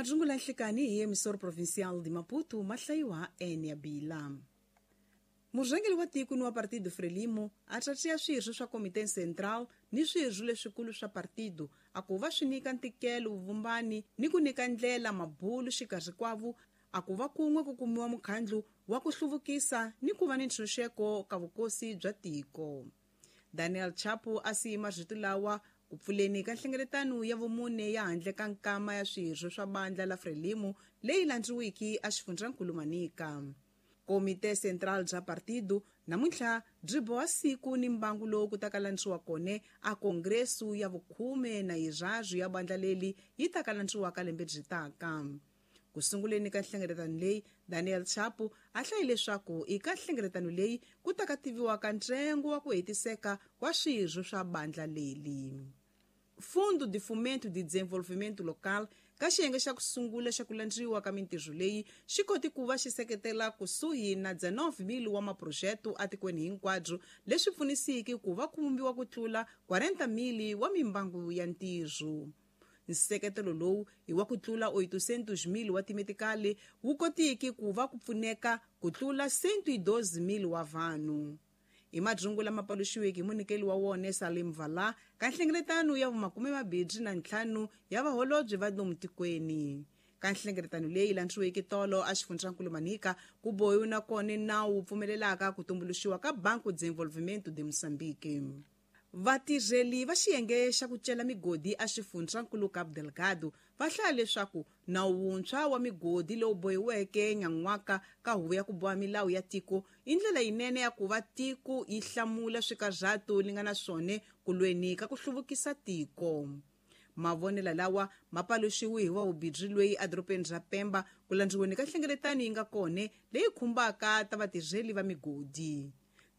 Majungula nhlikani hi emissor provincial de Maputo ma hlayiwa enia bila. Murhangeri wa tiko ni wa Partido Frelimo a tsatsiya swirho swa Komite Central ni swirho leswikulu swa partido a ku va swi nyika ntikelo vuvumbani ni ku nyika ndlela mabulu xikarhi kwavo a ku va kun'we ku kumiwa mukhandlu wa ku hluvukisa ni ku va ni ntshunxeko ka vukosi bya tiko. Daniel Chapo a siyi marito lawa ku pfuleni ka nhlengeletano ya vumune ya handle ka nkama ya swirho swa bandla la Frelimo leyi landziwiki a xifundzankulu Manica. Komite Central bya partido namuntlha byi boha siku ni mbangu lowu ku ta ka landziwa kone a kongresu ya vukhume na yiraru ya bandla leli yi ta ka landziwaka lembe byi taka. Ku sunguleni ka nhlengeletano leyi, Daniel Chapo a hlaye leswaku eka nhlengeletano leyi ku ta ka tiviwaka ntsengo wa ku hetiseka wa swirho swa bandla leli. Fundo de Fomento de Desenvolvimento Local ka xiyenge xa ku sungula xa ku landziwa ka mintirho leyi xi koti ku va xi seketela kusuhi na 19,000 wa maphurojete etikweni hinkwabyo, leswi pfunisiki ku va ku vumbiwa ku tlula 40,000 wa mimbangu ya ntirho. Nseketelo lowu i wa ku tlula 800,000 wa timetikali wu kotiki ku va ku pfuneka ku tlula 112,000 wa vanhu. Hi majungu lama paluxiweke hi munyikeli wa wona Salim Vala ka nhlengeletano ya 25 ya vaholobye va lomu tikweni. Ka nhlengeletano leyi landziweke tolo a xifundzankulu Manica ku bohiwe na kona nawu wu pfumelelaka ku tumbuluxiwa ka Banco de Desenvolvimento de Moçambique. Vatirheli va xiyenge xa ku cela migodi a xifundzankulu Cabo Delgado va hlaya leswaku nawu wuntshwa wa migodi lowu bohiweke nyan'waka ka huvo ya ku boha milawu ya tiko i ndlela yinene ya ku va tiko yi hlamula swikarhato li nga na swona ku lweni ka ku hluvukisa tiko. Mavonelo lawa ma paluxiwe hi wa vubindzu loyi edorobeni ra Pemba ku landziweni ka nhlengeletano yi nga kona leyi khumbaka ta vatirheli va migodi.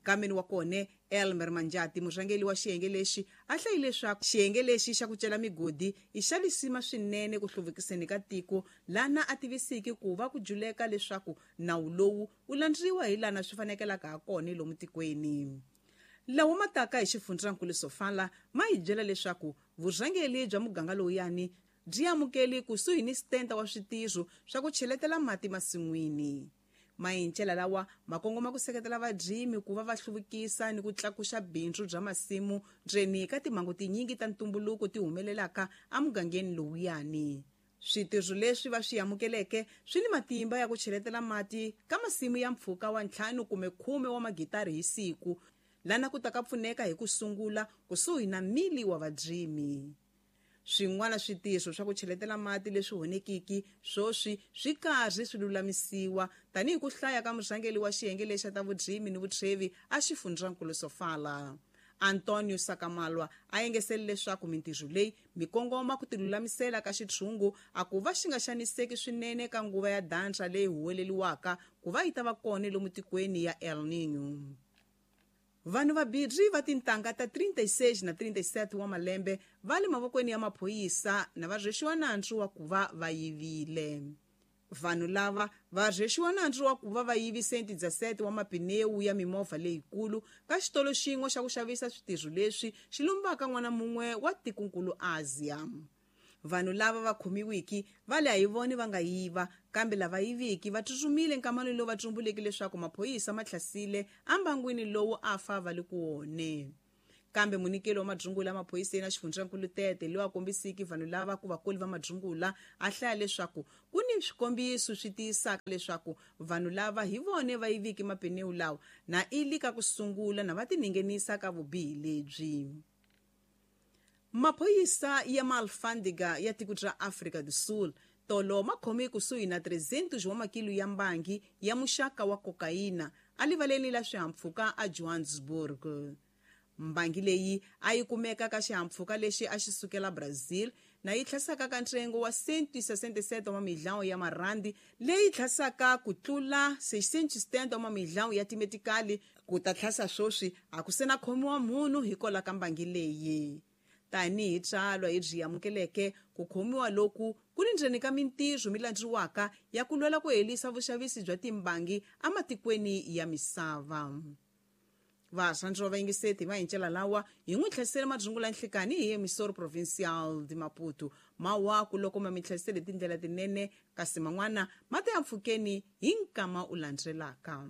Kameni wa kona Elmer Manjati, murhangeri wa xiyenge lexi, a hlayi leswaku xiyenge lexi xa ku cela migodi i xa lisima swinene ku hluvukiseni ka tiko, lana a tivisiki ku va ku juleka leswaku nawu lowu wu landziwa hi lana swi fanekelaka ha kona lomu tikweni. Lawa ma taka hi xifundzankulu Sofala ma hi byela leswaku vurhangeri bya muganga lowuyani byi amukeli kusuhi ni 70 wa switirho swa ku cheletela mati masin'wini. Mayincela lawa ma kongoma ku seketela varimi ku va va hluvukisa ni ku tlakuxa bindzu bya masimu ndzeni ka timhangu tinyingi ta ntumbuluko ti humelelaka emugangeni lowuyani. Switirho leswi va swi amukeleke swi ni matimba ya ku cheletela mati ka masimu ya mpfhuka wa 5 kumbe 10 wa magitari hi siku, lana ku ta ka pfuneka hi ku sungula kusuhi na 1,000 wa varimi. Swin'wana switirho swa ku cheletela mati leswi honekiki swoswi swi karhi swi lulamisiwa tanihi ku hlaya ka murhangeri wa xiyenge lexa ta vurimi ni vutshwevi a xifundzankulu Sofala. Antonio Sakamalwa a engesele leswaku mintirho leyi mikongoma ku tilulamisela ka xitshungu a ku va xi nga xaniseki swinene ka nguva ya dansa leyi huweleliwaka ku va yi ta va kona lomu tikweni ya El Niño. Vanhu vabirhi va tintangha ta 36 na 37 wa malembe va le mavokweni ya maphorisa na va rhwexiwa nandzu wa ku va va yivile. Vanhu lava va rhwexiwa nandzu wa ku va va yivi 117 wa mapinewu ya mimovha leyikulu ka xitolo xin'we xa ku xavisa switirho leswi xi lumbaka n'wana mun'we wa tikonkulu Asia. Vanhu lava va khomiwiki va le a hi voni va nga yiva, kambe lava yiviki va tsutsumile nkamano lowu va tsumbuleke leswaku maphorisa ma hlasile embangwini lowu a fa va le ku wone. Kambe munyikeli wa madzungula maphoriseni a xifundzankulu Tete loyi a kombisiki vanhu lava ku vakoli va madzungula a hlaya leswaku ku ni swikombiso swi tiyisaka leswaku vanhu lava hi vone va yiviki mapenewu lawa na ili ka ku sungula na va tiningenisa ka vubihi lebyi. Maphorisa ya Maalfandiga ya tiko ra Afrika do Sul tolo ma khome kusuhi na 300 wa makilo ya mbangi ya muxaka wa kokaina alivaleni la swihahampfhuka a Johannesburg. Mbangi leyi a yi kumeka ka xihahampfhuka lexi a xi sukela Brazil na yi tlhasaka ka ntsengo wa 167 wa milhão ya marandi leyi tlhasaka ku tlula 670 wa milhão ya timetikali ku ta tlhasa swoswi a ku se na khomiwa munhu hikwalaho ka mbangi leyi. Tanihi tsalwa hi byi amukeleke ku khomiwa loku ku ni ndzeni ka mintirho mi landziwaka ya ku lwela ku herisa vuxavisi bya timbangi ematikweni ya misava. Varhandzi va vayingiseti va hincela lawa hi n'wi tlhesele madzungula nhlikani hi emissor provincial de Maputo. Mawaku loko ma mi tlhesele tindlela tinene, kasi man'wana ma ta ya mpfhukeni hi nkama u landzelaka.